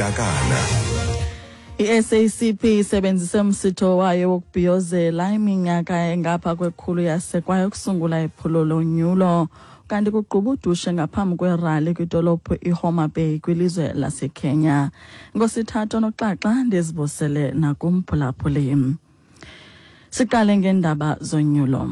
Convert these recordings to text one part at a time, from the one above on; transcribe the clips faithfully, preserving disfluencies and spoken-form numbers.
Dakana. I-S A C P isebenzise umsitho wayo wokubhiyozela iminyaka engapha kwekhulu yasekwayo ukusungula iphulo lonyulo, kanti kugquba udushe ngaphambi kwerali kwidolophu iHoma Bay kwilizwe laseKenya. Ngosithathu noxaxa ndizibusele nakumphulaphuli. Siqale ngeendaba zonyulo.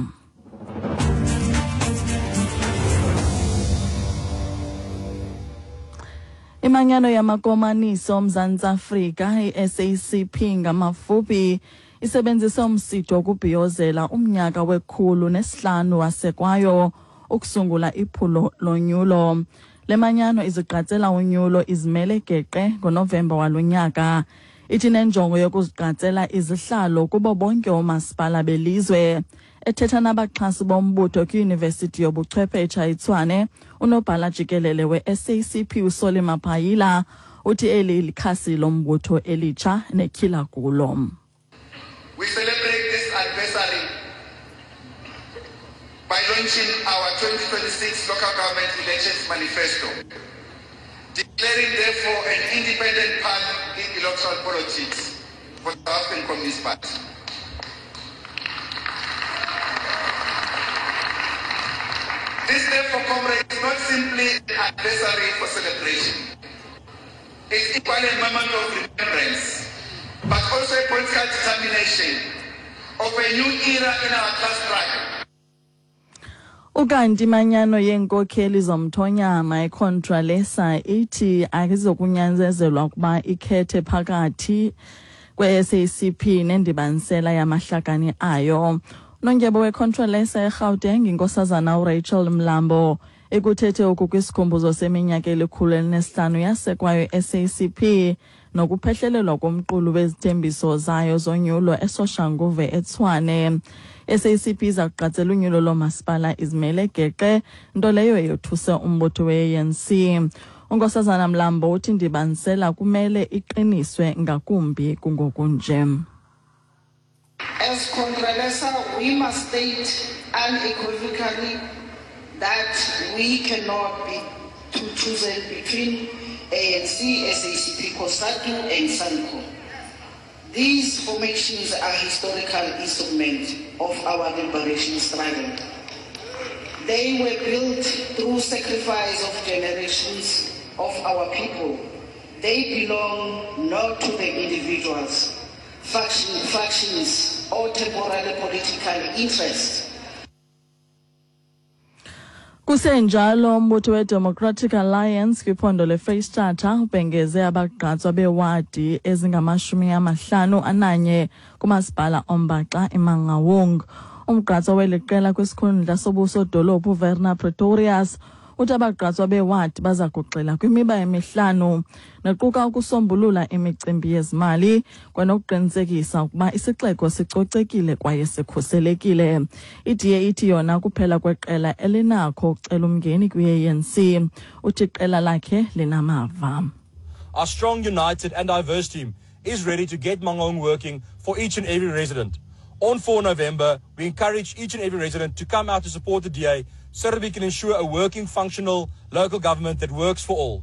Imanyano yamakomanisi oMzantsi Afrika, i-S A C P ngamafuphi, isebenzise umsitho wokubhiyozela umnyaka wekhulu nesihlanu wasekwayo ukusungula iphulo lonyulo. Le manyano izigqatsela unyulo izimele geqe ngoNovemba walonyaka. Ithi nenjongo yokuzigqatsela izihlalo kubo bonke oomasipala belizwe. Ethetha nabaxhasi bombutho kwiYunivesithi yobuchwephetsha iTshwane, unobhala jikelele we-S A C P uSolly Mapaila uthi eli likhasi lombutho elitsha netyhila kulo. We celebrate this anniversary by launching our twenty twenty-six local government elections manifesto, declaring therefore an independent path in electoral politics for the South African Communist Party. This therefore, comrades, is not simply an anniversary for celebration. It's equally a moment of remembrance, but also a political determination of a new era in our class struggle. Ukanti imanyano yeenkokheli zomthonyama iContralesa ithi ayizokunyanzelwa ukuba ikhethe phakathi kwe-S A C P nendibanisela yamahlakani ayo. Nondyebo weContralesa eGauteng, inkosazana uRachel Mlambo, ekuthethe oku kwisikhumbuzo seminyaka elikhulu elinesihlanu yasekwayo S A C P nokuphehlelelwa komqulu wezithembiso zayo zonyulo eSoshanguve eTshwane. S A C P iza kuqatsela unyulo loomasipala izimele geqe, nto leyo eyothuse umbutho we-A N C. Unkosazana Mlambo uthi indibanisela kumele iqiniswe ngakumbi kungokunje. As Contralesa, we must state unequivocally that we cannot be chosen between A N C, S A C P, COSATU and SANCO. These formations are historical instruments of our liberation struggle. They were built through sacrifice of generations of our people. They belong not to the individuals, faction, factions, or temporary political interests. Kusenjalo, umbutho we-Democratic Alliance kwiphondo leFreyistata ubhengeze abagqatswa bewadi ezingamashumi amahlanu ananye kumasipala ombaxa iMangaung. Umgqatswa weli qela kwisikhundla sobusodolophu uWerner Pretorius uthi abagqatswa bewadi baza kugxila kwimiba emihlanu nequka ukusombulula imicimbi yezimali kwanokuqinisekisa ukuba isixeko sicocekile kwaye sikhuselekile. I-D A ithi yona kuphela kweqela elinakho ukucela umngeni kwi-A N C. Uthi iqela lakhe linamava. Our strong, united and diverse team is ready to get Mangaung working for each and every resident. On four November, we encourage each and every resident to come out to support the D A so that we can ensure a working, functional local government that works for all.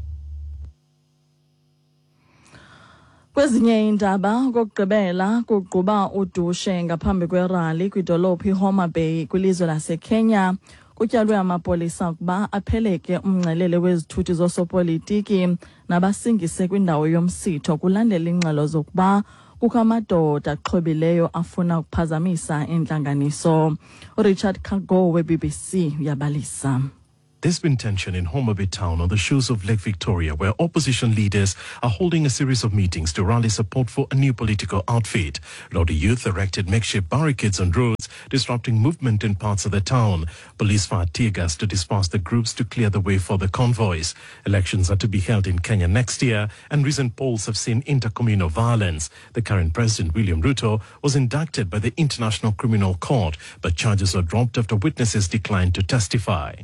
Kwezinye iindaba, okokugqibela kugquba udushe ngaphambi kwerali kwidolophu iHoma Bay kwilizwe laseKenya. Kutyalwe amapolisa ukuba apheleke umngcelele wezithuthi zosopolitiki nabasingise kwindawo yomsitho kulandela iingxelo zokuba kukho amadoda axhobileyo afuna ukuphazamisa intlanganiso. uRichard Kago we-B B C uyabalisa. There's been tension in Homa Bay town on the shores of Lake Victoria, where opposition leaders are holding a series of meetings to rally support for a new political outfit. Rowdy youth erected makeshift barricades on roads, disrupting movement in parts of the town. Police fired tear gas to disperse the groups to clear the way for the convoys. Elections are to be held in Kenya next year, and recent polls have seen intercommunal violence. The current president, William Ruto, was indicted by the International Criminal Court, but charges were dropped after witnesses declined to testify.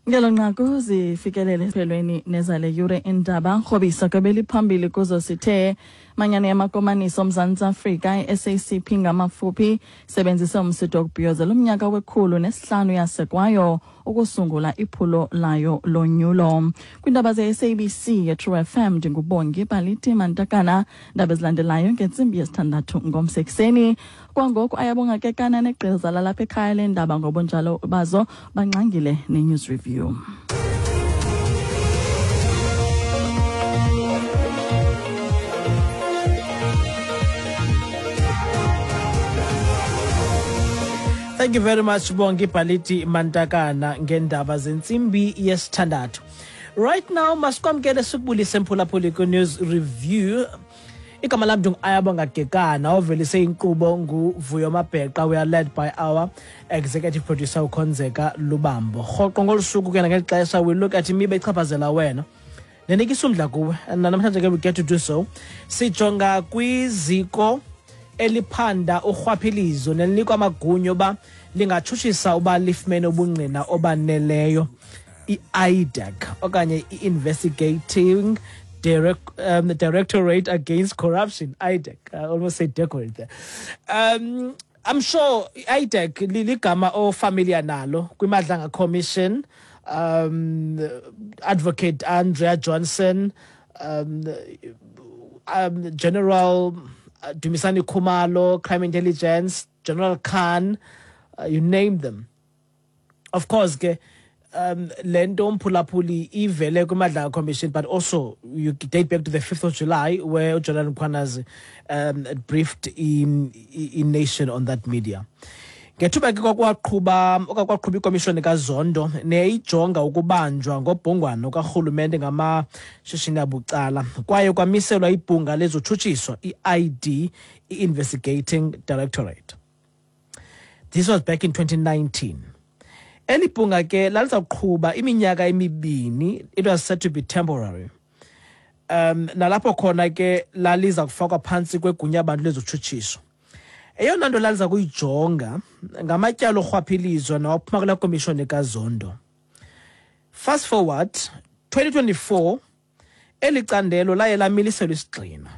Ngelo nqaku zifikelele esiphelweni nezale yure indaba. Rhobisa kwebeliphambili kuzo sithe Manyano yamakomanisi oMzantsi Afrika i-S A C P ngamafuphi sebenzise umsitho wokubhiyozela umnyaka wekhulu nesihlanu yasekwayo ukusungula iphulo layo lonyulo. Kwiindaba ze-S A B C ye-True F M ndinguBongi Baliti Mantakana. Ndaba ezilandelayo ngentsimbi yesithandathu ngomso ekuseni. Kwangoku Ayabonga Kekana negqiza lalapha ekhaya leendaba ngobunjalo bazo bangxangile ne-News Review. Thank you very much, Bongi Baliti Mantakana, ngendaba zentsimbi yesithandathu. Right now, masikwamkele sikubulise mphulaphuli ku-News Review. Igama lam ndingu-Ayabonga Kekana, ovelise inkqubo nguVuyo Mabheqa. We are led by our executive producer uKhonzeka Lubambo. Rhoqo ngolu suku ke nangeli xesha we look at imiba echaphazela wena nenikisa umdla kuwe, and namhlanje ke we get to do so. Sijonga kwiziko eliphanda urhwaphilizo nelinikwa amagunya uba lingatshutshisa uba lifumene ubungqina obaneleyo, i-I D A C okanye i-Investigating Direct, um, Directorate Against Corruption, I D A C. I almost say decorate there. Um, I'm sure I D A C ligama ofamiliar nalo kwiMadlanga Commission, um, Advocate Andrea Johnson, um, um, General Dumisani Khumalo, Crime Intelligence, General Khan, uh, you name them. Of course, ke, um, lento mphulaphuli ivele kwiMadlanga Commission, but also you date back to the fifth of July where General Mkhwanazi um, briefed in, in nation on that media. Ngethuba ke kwakwaqhuba okakwaqhuba ikomishoni kaZondo neyijonga ukubanjwa ngobhongwano karhulumente ngamashishini abucala, kwaye kwamiselwa ibhunga lezotshutshiso i-I D, i-Investigating Directorate. This was back in twenty nineteen. Eli bhunga ke lalizawuqhuba iminyaka emibini. It was said to be temporary. Um, nalapho khona ke laliza kufakwa phantsi kwegunya abantu lezotshutshiso. Eyona nto laliza kuyijonga ngamatyala orhwaphilizo nawaphuma kulaa komishoni kaZondo. Fast forward twenty twenty-four, eli candelo laye lamiliselwa isigxina,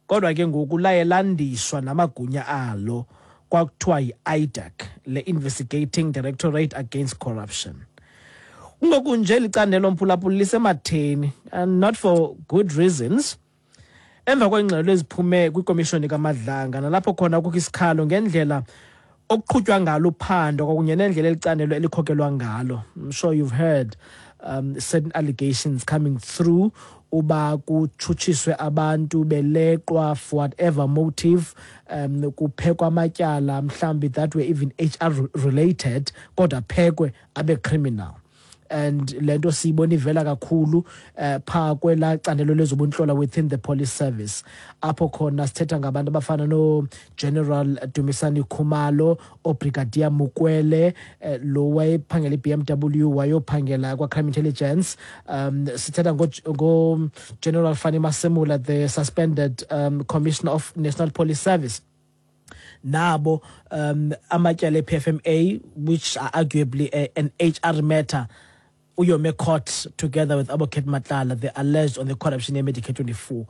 kodwa ke ngoku laye landiswa namagunya alo, kwakuthiwa yi-I D A C, le Investigating Directorate Against Corruption. Kungoku nje licandelo mphulaphula lisematheni, and not for good reasons. Emva kweengxelo eziphume kwikomishoni kaMadlanga, nalapho khona kukho isikhalo ngendlela okuqhutywa ngalo uphando kwakunye nendlela elicandelo elikhokelwa ngalo. I'm sure you've heard um, certain allegations coming through uba kutshutshiswe abantu beleqwa for whatever motive, um, kuphekwa amatyala mhlawumbi that were even H R related, kodwa phekwe abe criminal. And lento siyibona ivela kakhulu uh, pha kwela candelo lezobuntlola within the police service, apho khona sithetha ngabantu abafana no General Dumisani Khumalo, oBrigadier Mukwele, uh, lo wayephangela i-B M W wayophangela kwa Crime Intelligence, um sithetha ngo, ngo General Fannie Masemola, the suspended um, Commissioner of National Police Service. Nabo um amatyala e-P F M A, which are arguably a, an H R matter, uyome court together with Advocate Matlala, they alleged on the corruption in Medicare twenty-four.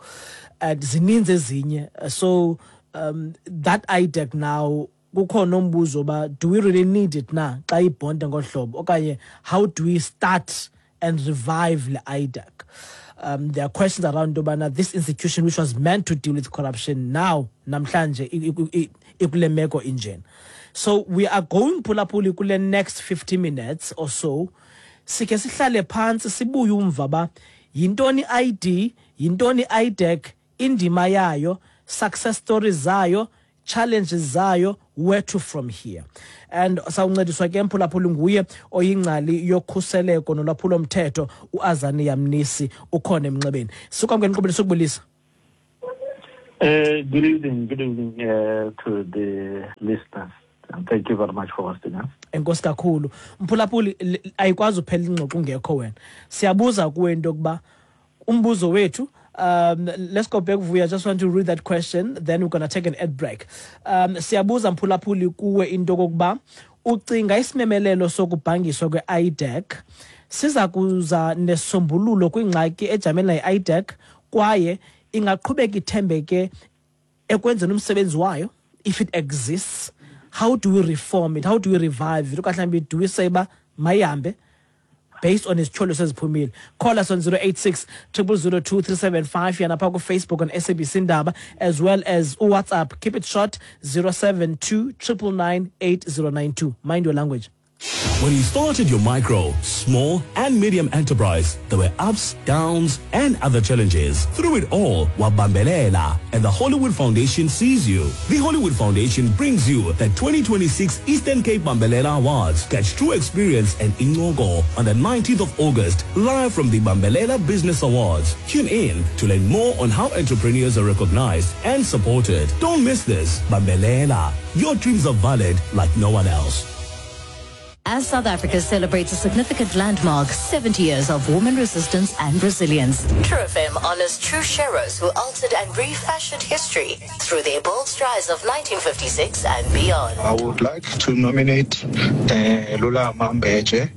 And zininzi ezinye. So um, that I D A C now, kukhona umbuzo ba, do we really need it na? Xa ibhonde ngohlobo, okanye how do we start and revive the I D A C? Um, there are questions around ubana this institution which was meant to deal with corruption now namhlanje ikule meko injena. So we are going phulaphuli kule next fifty minutes or so. Sike sihlale phansi sibuye umva ba yintoni I D, yintoni I D A C, indima yayo, success stories zayo, challenges zayo, where to from here. And sawuncediswa ke mphulaphuli nguye oyingcali yokhuseleko nolwaphulo mthetho uAzania Mnisi, ukhona emnxebeni. Sikwamkela inkqubo sokubulisa. Uh, good evening, good evening uh, to the listeners. And thank you very much for hosting us. Enkosi kakhulu. Mphulaphuli, ayikwazi uphela ingxoxo ungekho wena. Siyabuza kuwe into yokuba umbuzo wethu, um, let's go back, Vuya. I just want to read that question, then we're going to take an ad break. Um, siyabuza mphulaphuli kuwe into yokuba ucinga isimemelelo sokubhangiswa kwe-I D A C siza kuza nesombululo kwingxaki ejamele nayi-I D A C, kwaye Ingaqhubeka ithembeke ekwenzeni umsebenzi wayo if it exists? How do we reform it? How do we revive it? Okanye mhlawumbi do we say uba mayihambe based on izityholo seziphumile? Call us on zero eight six triple zero two three seven five, yana phaa kuFacebook on S A B C Indaba, as well as uWhatsApp. Keep it short, zero seven two triple nine eight zero nine two. Mind your language. When you started your micro, small and medium enterprise, there were ups, downs, and other challenges. Through it all, wabambelela, and the Hollywood Foundation sees you. The Hollywood Foundation brings you the twenty twenty-six Eastern Cape Bambelela Awards. Catch true experience and Ingogo on the nineteenth of August, live from the Bambelela Business Awards. Tune in to learn more on how entrepreneurs are recognized and supported. Don't miss this. Bambelela. Your dreams are valid like no one else. As South Africa celebrates a significant landmark, seventy years of woman resistance and resilience. True F M honors true sheroes who altered and refashioned history through their bold strides of nineteen fifty-six and beyond. I would like to nominate uh, Lula Mambeje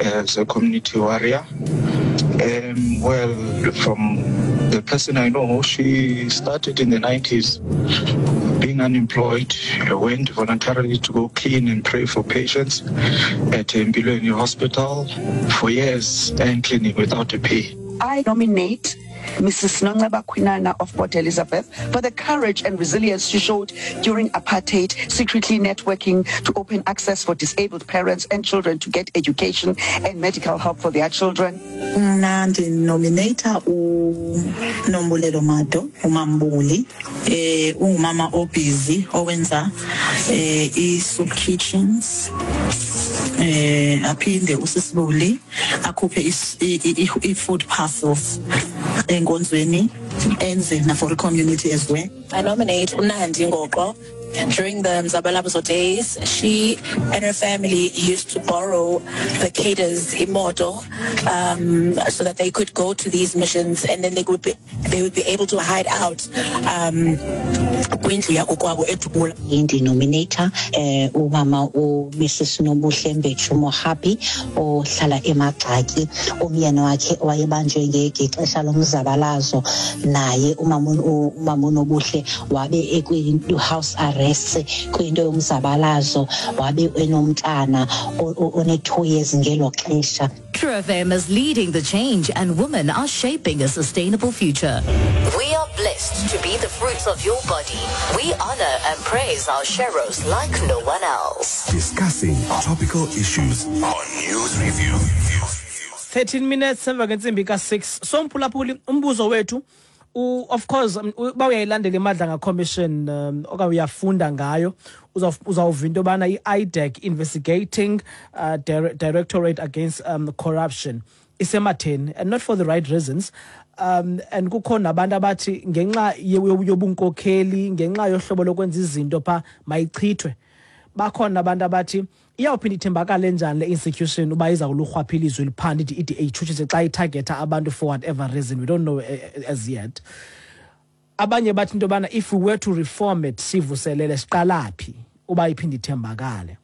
as a community warrior. Um, well, from the person I know, she started in the nineties. Being unemployed, went voluntarily to go clean and pray for patients at Mbilweni Hospital for years and cleaning without a pay. I nominate Missus Nonceba Kwinana of Port Elizabeth for the courage and resilience she showed during apartheid, secretly networking to open access for disabled parents and children to get education and medical help for their children. Mna ndinominata uNombulelo Mado, uMambuli, eh ungumama obusy owenza eh i-soup kitchens. Eh aphinde usisibuli akhuphe i-food parcels enkonzweni enze na for the community as well. I nominate uNandi Ngoqo. During the Mzabalazo days, she and her family used to borrow the cadres imoto, um, so that they could go to these missions, and then they would be they would be able to hide out. Um, kwindlu yakokwabo eDubula. Indinominator eh umama u Missus Nobuhle Mbetshu Mohapi ohlala eMagxaki, umyeni wakhe wayebanjwe ngexesha lomzabalazo, naye umama umama Nobuhle wabe ekwi house arrest kwinto yomzabalazo, wabe enomntana one two years ngelo xesha. True F M is leading the change, and women are shaping a sustainable future. We are blessed to be the fruits of your body. We honor and praise our sheroes like no one else. Discussing topical issues on News Review. thirteen minutes emva kwentsimbi ka six. So mphulaphuli, umbuzo wethu, of course, uba uyayilandela iMadlanga Commission um, okanye uyafunda ngayo, uzawuva into yobana i-I D A C, Investigating uh, Directorate Against um, Corruption, isematheni, and not for the right reasons. Um, and kukho nabantu abathi ngenxa yobunkokheli, ngenxa yohlobo lokwenza izinto pha mayichithwe. Bakhona abantu abathi iyawuphinda ithembakale njani le institution uba iza kulurhwaphilizo eliphanda ithi i-D A itshutshise xa itargetha abantu for whatever reason, we don't know as yet. Abanye bathi into yobana if we were to reform it, sivuselele siqala phi uba iphinde ithembakale.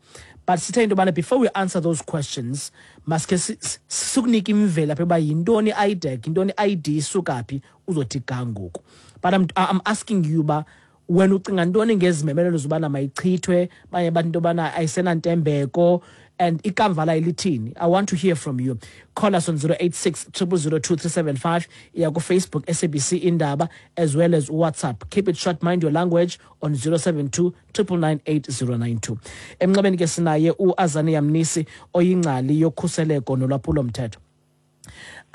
But sithe into yobana before we answer those questions, maske sikunike imvelaphi uba yintoni i-I D A C, yintoni i-I D isuka phi, uzothi ga ngoku. But I'm, I'm asking you uba wena ucinga ntoni ngezimemelelo zobana mayichithwe, banye bathi into yobana ayisenantembeko, and ikamva layo lithini? I want to hear from you. Call us on zero eight six triple zero two three seven five, iya ku-Facebook S A B C Indaba, as well as WhatsApp. Keep it short, mind your language on zero seven two triple nine eight zero nine two. Emnxebeni ke sinaye uAzania Mnisi oyingcali yokhuseleko nolwaphulomthetho.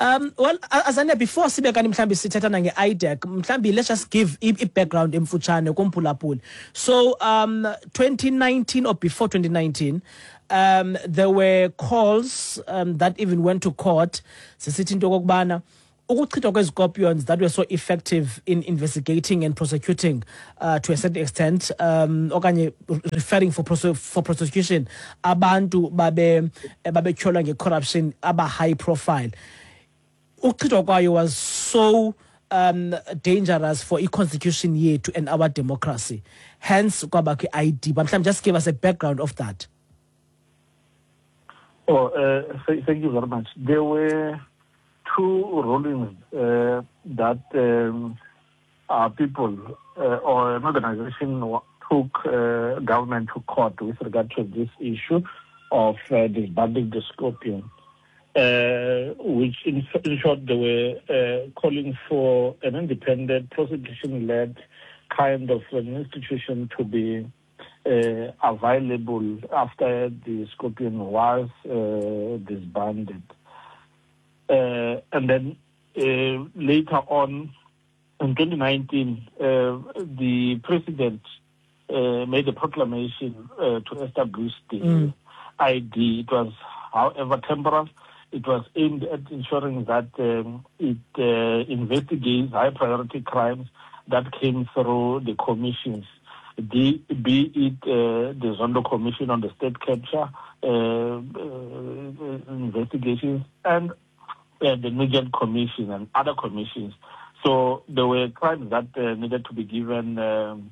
Um, well, Azania, before sibe kanti mhlambi sithetha nge-I D A C, mhlambi let's just give i-background emfutshane kumphulaphuli. So, um, twenty nineteen or before twenty nineteen, um, there were calls um, that even went to court. Sisithi into okokubana ukuchithwa kwezcorpions that were so effective in investigating and prosecuting uh, to a certain extent, um, okanye referring for prose- for prosecution abantu babe babetyholwa nge-corruption aba high profile. Ukuchithwa kwayo was so um, dangerous for i-constitution yethu and our democracy. Hence kwabakho i-I D. But mhlawumbi just give us a background of that. Oh, uh, th- thank you very much. There were two rulings uh, that um, uh, people uh, or an organization took uh, government to court with regard to this issue of uh, disbanding the Scorpion, uh, which in, in short they were uh, calling for an independent prosecution-led kind of an institution to be uh, available after the Scorpion was uh, disbanded. Uh, and then uh, later on, in twenty nineteen, uh, the president uh, made a proclamation uh, to establish the mm. I D. It was, however, temporal. It was aimed at ensuring that um, it uh, investigates high-priority crimes that came through the commissions, the, be it uh, the Zondo Commission on the state capture uh, uh, investigations and uh, the Nugent Commission and other commissions. So there were crimes that uh, needed to be given um,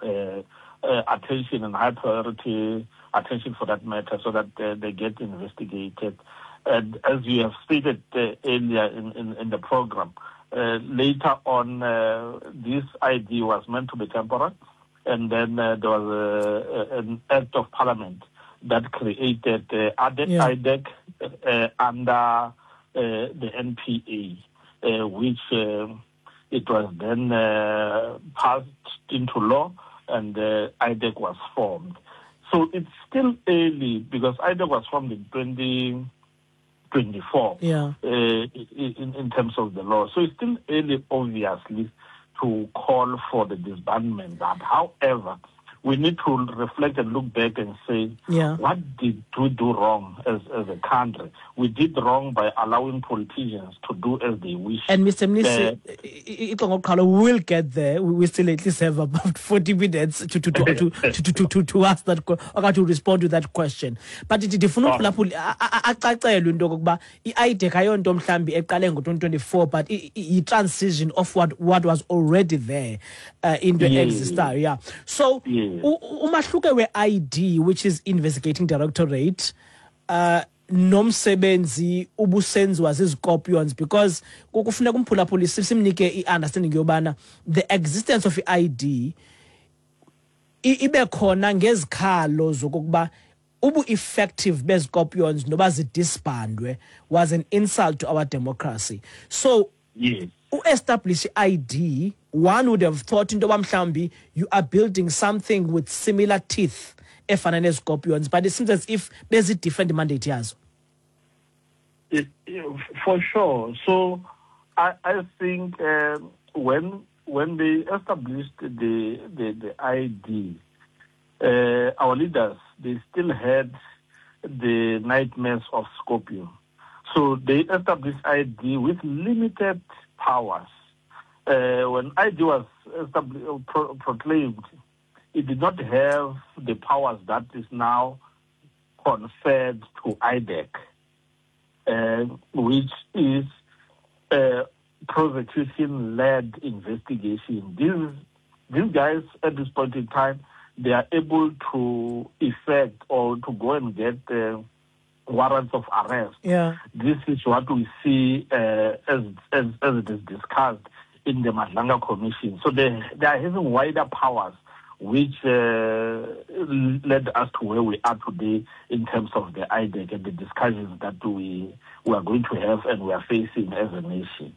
uh, uh, attention and high priority attention for that matter, so that uh, they get investigated. And as you have stated uh, earlier in, in, in the program, uh, later on, uh, this I D was meant to be temporary, and then uh, there was a, a, an act of parliament that created uh, I D E C, yeah. I D E C uh, under uh, the N P A, uh, which uh, it was then uh, passed into law, and uh, I D E C was formed. So it's still early because I D E C was formed in twenty twenty-four, yeah. uh, in, in terms of the law. So it's still early, obviously, to call for the disbandment. But however, we need to reflect and look back and say, yeah. what did we do wrong as, as a country? We did wrong by allowing politicians to do as they wish. And Mister Mnisi, uh, we'll get there. We still at least have about forty minutes to to to to, to, to, to, to ask that or to respond to that question. But ndifuna acacelwe into yokokuba i-I D E C ayonto mhlambi eqale ngo twenty twenty-four, but i-transition of what what was already there uh, into yeah. existayo. Yeah. So yeah. Umahluko we-I D, which is Investigating Directorate, uh, nomsebenzi ubusenziwa ziziScorpions, because kufuneka umphulaphuli simnike i-understanding yobana the existence of i-I D ibe khona ngezikhalo zokokuba ubu-effective beziScorpions noba zidisbandwe was an insult to our democracy. So yes. U-establish I D, one would have thought into yoba mhlawumbi you are building something with similar teeth efana neziScorpions, but it seems as if there's a different mandate yazo. It, for sure. So I, I think um, when when they established the the, the I D, uh, our leaders, they still had the nightmares of Scorpion. So they established I D with limited powers. Uh, when I D was established, pro- proclaimed, it did not have the powers that is now conferred to I D E C, uh, which is uh, prosecution-led investigation. These, these guys, at this point in time, they are able to effect or to go and get uh, warrants of arrest. Yeah. This is what we see uh, as, as as it is discussed in the Madlanga Commission. So they, they are having wider powers, which uh, led us to where we are today in terms of the I D E C and the discussions that we, we are going to have and we are facing as a nation.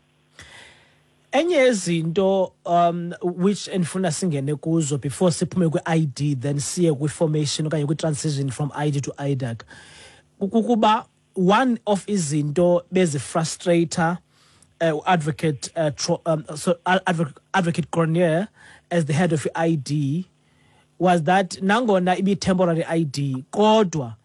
Enye izinto um which endifuna singene kuzo before siphume kwi-I D then siye kwi-formation okanye kwi-transition from I D to I D E C, kukuba one of izinto bezifrustrator uh, advocate uh, tro, um, so advocate, advocate Cronje as the head of I D was that nangona ibi temporary I D kodwa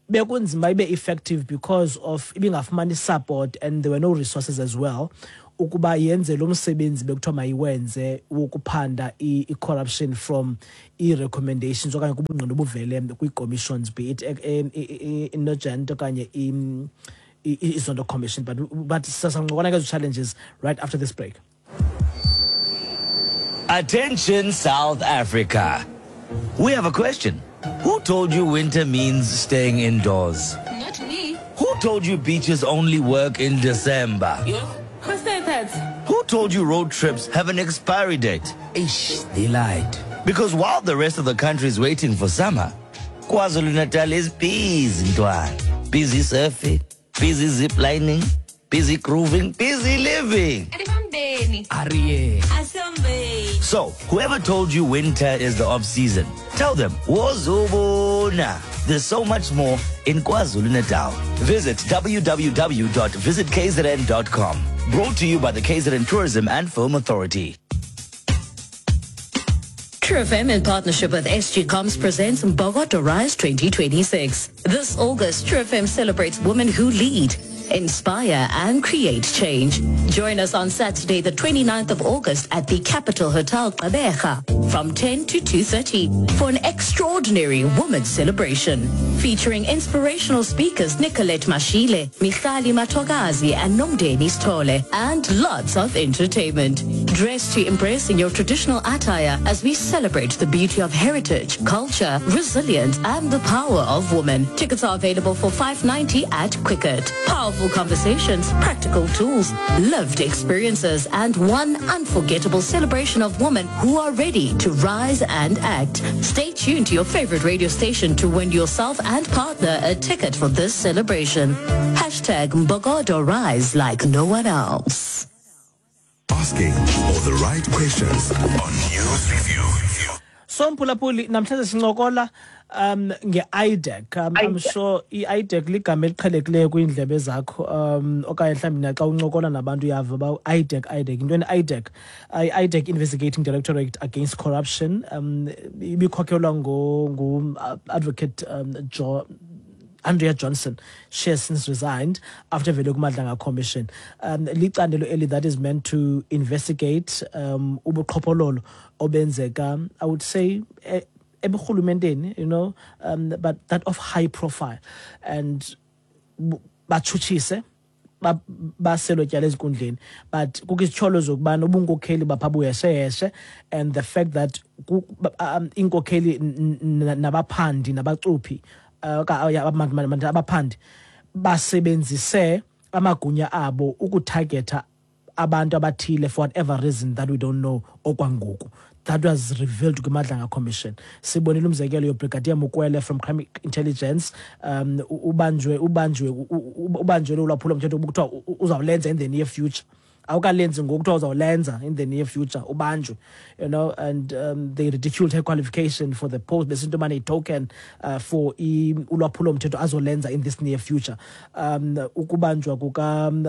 bekunzima ibe effective because of ibingafumani support and there were no resources as well ukuba yenze lo msebenzi bekuthiwa mayiwenze wokuphanda i-corruption from i-recommendations okanye kubungqina obuvele kwii-commissions, be it i-Nugent okanye i-Zondo Commission. But but sasancokola ngezo challenges right after this break. Attention South Africa. We have a question. Who told you winter means staying indoors? Not me. Who told you beaches only work in December? You. Who said that? Who told you road trips have an expiry date? Ish, they lied. Because while the rest of the country is waiting for summer, KwaZulu-Natal is busy, ntwana. Busy surfing, busy ziplining, busy grooving, busy living. Arie. So, whoever told you winter is the off-season, tell them, Wozubona. There's so much more in KwaZulu-Natal. Visit w w w dot visit k z n dot com. Brought to you by the K Z N Tourism and Film Authority. True F M in partnership with S G Comms presents Mbokodo Rise twenty twenty-six. This August, True F M celebrates women who lead, inspire and create change. Join us on Saturday, the twenty-ninth of August at the Capital Hotel Gqeberha from ten to two thirty for an extraordinary women's celebration featuring inspirational speakers Nicolette Mashile, Michali Matogazi and Nomdeni Stole, and lots of entertainment. Dress to impress in your traditional attire as we celebrate the beauty of heritage, culture, resilience and the power of women. Tickets are available for five ninety at Quicket. Powerful conversations, practical tools, lived experiences, and one unforgettable celebration of women who are ready to rise and act. Stay tuned to your favorite radio station to win yourself and partner a ticket for this celebration. Hashtag Mbokodo Rise like no one else. Asking all the right questions on News Review. So Mphulaphuli, namhlanje sincokola um nge-I D E C. Um, I'm sure i-I D E C ligama eliqhelekileyo kwiindlebe zakho, um okanye mhlawumbi naxa uncokola nabantu uyava uba I D E C, I D E C. Yintoni I D E C? I D E C, Investigating Directorate Against Corruption. Um ibikhokhelwa ngu-Advocate um, Jo Andrea Johnson. She has since resigned after Vele Madlanga Commission. Um, licandelo eli that is meant to investigate um ubuqhophololo obenzeka, I would say, eburhulumenteni, you know, um, but that of high profile, and batshutshise baselo tyala ezinkundleni, but kukho izityholo zokubana ubunkokheli bapha buyesheyeshe, and the fact that iinkokheli nabaphandi nabacuphi abaphandi basebenzise amagunya abo ukutargetha abantu abathile for whatever reason that we don't know okwangoku. That was revealed to Madlanga Commission. Sibonile umzekelo yoBrigadier Mukwele from Crime Intelligence, um ubanjwe ubanjwe ubanjwe ulwaphulo mthetho kuthiwa uzawulenza in the near future. Awukalenzi ngoku kuthiwa uzawulenza in the near future, ubanjwe, you know, and um, they ridiculed her qualification for the post, besinto mane token uh, for ulwaphulo mthetho azolenza in this near future. Um ukubanjwa kuka um,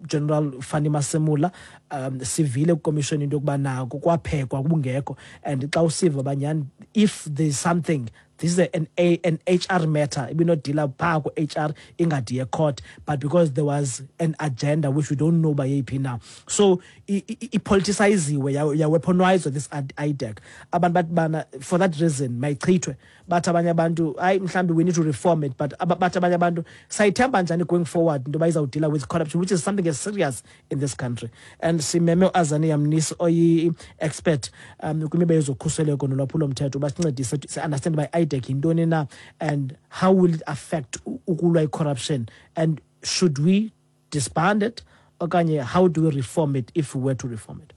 General Fannie Masemola, um sivile commission into yokuba nako kwaphekwa kubungekho, and xa usiva banyani, if there's something, this is an, a, an H R matter. It will not deal up H R ingadiye court, but because there was an agenda which we don't know by A P now. So it politiciziwe, ya weaponize this I D E C. Abantu bathi bana, for that reason mayichithwe. Bathi abanye abantu hayi mhlambi we need to reform it, but bathi abanye abantu sayithemba njani going forward into bayizawu deal with corruption, which is something as serious in this country. And simeme uAzania Mnisi oyi expert um kwimiba yezokhuseleko nolwaphulo mthetho basincedise si understand by I D E C yintoni na, and how will it affect ukulwa corruption, and should we disband it okanye how do we reform it if we were to reform it?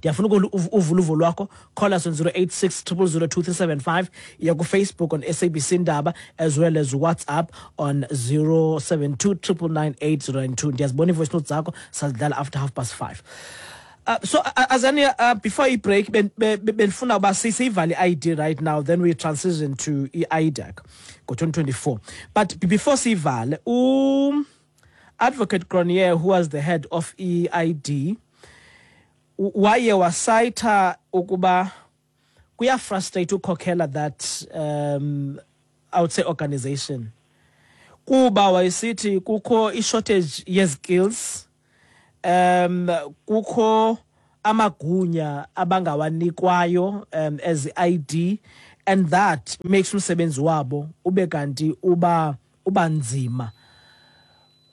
Ndiyafuna uvula uvo lwakho. Call us on zero eight six triple zero two three seven five, iya ku-Facebook on S A B C Ndaba, as well as WhatsApp on zero seven two triple nine eight zero nine two. Ndiyazibona i-voice notes zakho, sazidlala after half past five. Uh, so, uh, Azania, uh, before you break, ben benfuna uba siyivale I D right now, then we transition to I D E C go twenty twenty-four. But before siyivale, um, Advocate Cronje, who was the head of E I D, waye wasayitha ukuba kuyafrustrate ukhokhela that um, I would say organization. Kuba wayesithi kukho i-shortage ye-skills, um kukho amagunya abangawanikwayo um, as I D, and that makes umsebenzi wabo ube kanti uba ubanzima.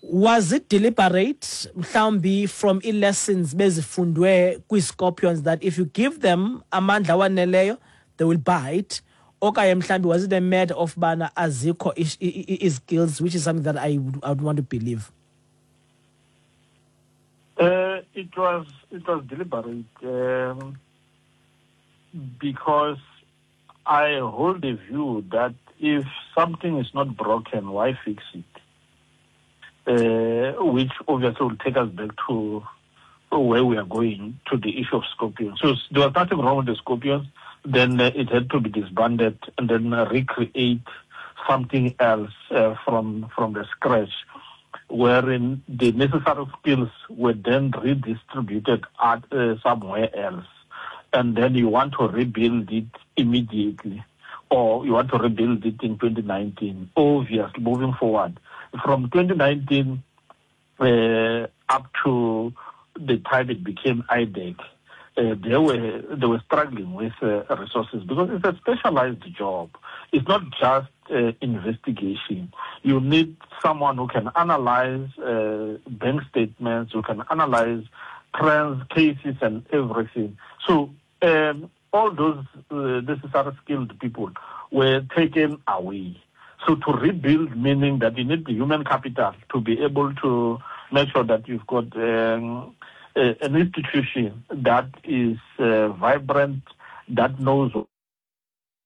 Was it deliberate mhlawumbi from i-lessons bezifundwe kwi-Scorpions that if you give them amandla waneleyo they will bite, okanye mhlawumbi was it a matter of bana azikho i-skills, which is something that I would, I would want to believe? Uh, it was it was deliberate um, because I hold the view that if something is not broken, why fix it? Uh, which obviously will take us back to where we are going, to the issue of Scorpions. So there was nothing wrong with the Scorpions. Then uh, it had to be disbanded and then uh, recreate something else uh, from, from the scratch, wherein the necessary skills were then redistributed at, uh, somewhere else. And then you want to rebuild it immediately, or you want to rebuild it in twenty nineteen, obviously moving forward. From twenty nineteen uh, up to the time it became I D E C, uh, they were they were struggling with uh, resources because it's a specialized job. It's not just uh, investigation. You need someone who can analyze uh, bank statements, who can analyze trends, cases, and everything. So um, all those uh, necessary skilled people were taken away. So to rebuild, meaning that you need the human capital to be able to make sure that you've got um, a, an institution that is uh, vibrant, that knows